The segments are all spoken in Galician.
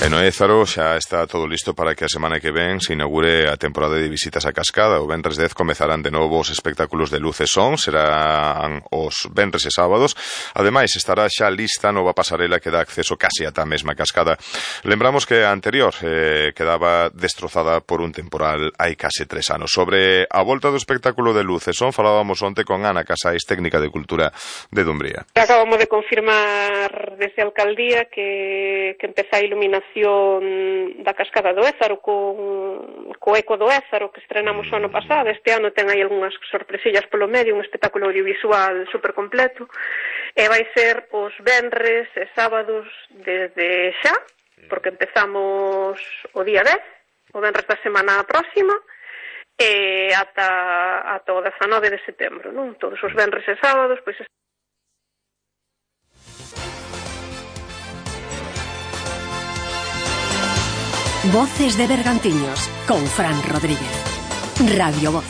En Ézaro xa está todo listo para que a semana que ven se inaugure a temporada de visitas a Cascada. O venres 10 comezarán de novo os espectáculos de luz e son, serán os venres e sábados. Ademais, estará xa lista a nova pasarela que dá acceso case ata a mesma cascada. Lembramos que a anterior quedaba destrozada por un temporal hai case 3 anos. Sobre a volta do espectáculo de luz e son falábamos onte con Ana Casais, técnica de cultura de Dumbría. Acabamos de confirmar desde a alcaldía que empeza a iluminación da Cascada do Ézaro co Eco do Ézaro que estrenamos o ano pasado. Este ano ten aí algunhas sorpresillas polo medio, un espectáculo audiovisual super completo, e vai ser os venres e sábados desde xa, porque empezamos o día 10, o venres da semana próxima, e ata o 19 de setembro, non? Todos os venres e sábados, pois Voces de Bergantiños, con Fran Rodríguez. Radio Voz.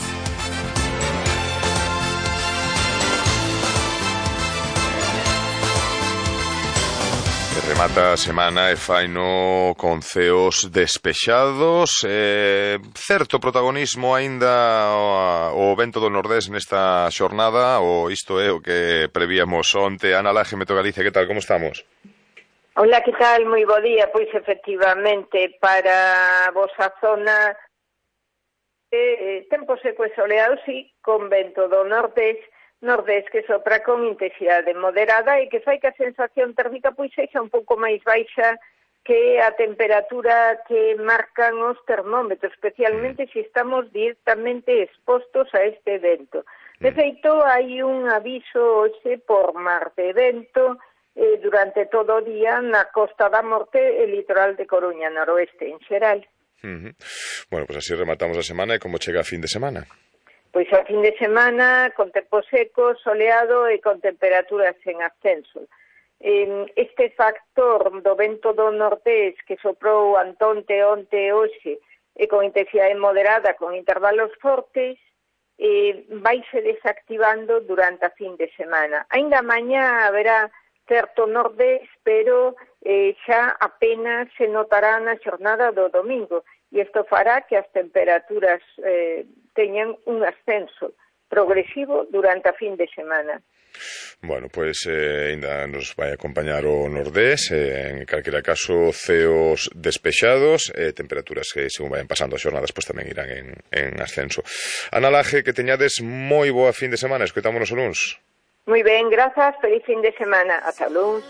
Remata a semana e faino con ceos despexados, certo protagonismo aínda o vento do Nordés nesta xornada, ou isto é o que prevíamos onte. Ana Laje, Meteo Galicia, que tal, como estamos? Hola, que tal? Moi bo día. Pois efectivamente, para a vosa zona tempo seco e soleado, sí, con vento do nordés que sopra con intensidade moderada e que fai que a sensación térmica pois sexa un pouco máis baixa que a temperatura que marcan os termómetros, especialmente se estamos directamente expostos a este vento. De feito, hai un aviso hoxe por mar de vento durante todo o día na Costa da Morte e litoral de Coruña, noroeste en xeral. Bueno, pues así rematamos a semana. E como chega a fin de semana? Pois a fin de semana con tempo seco, soleado e con temperaturas en ascenso. Este factor do vento do nordés que soprou antonte, onte e hoxe e con intensidade moderada, con intervalos fortes, vaise desactivando durante a fin de semana. Ainda mañá haberá certo nordés, pero xa apenas se notará na xornada do domingo, e isto fará que as temperaturas teñan un ascenso progresivo durante a fin de semana. Bueno, pois ainda nos vai acompañar o nordés, en calquera caso ceos despexados e temperaturas que según vayan pasando as xornadas pois tamén irán en ascenso. Ana Laje, que teñades moi boa fin de semana, escoitámonos o luns. Moi ben, grazas, feliz fin de semana. Ata luns.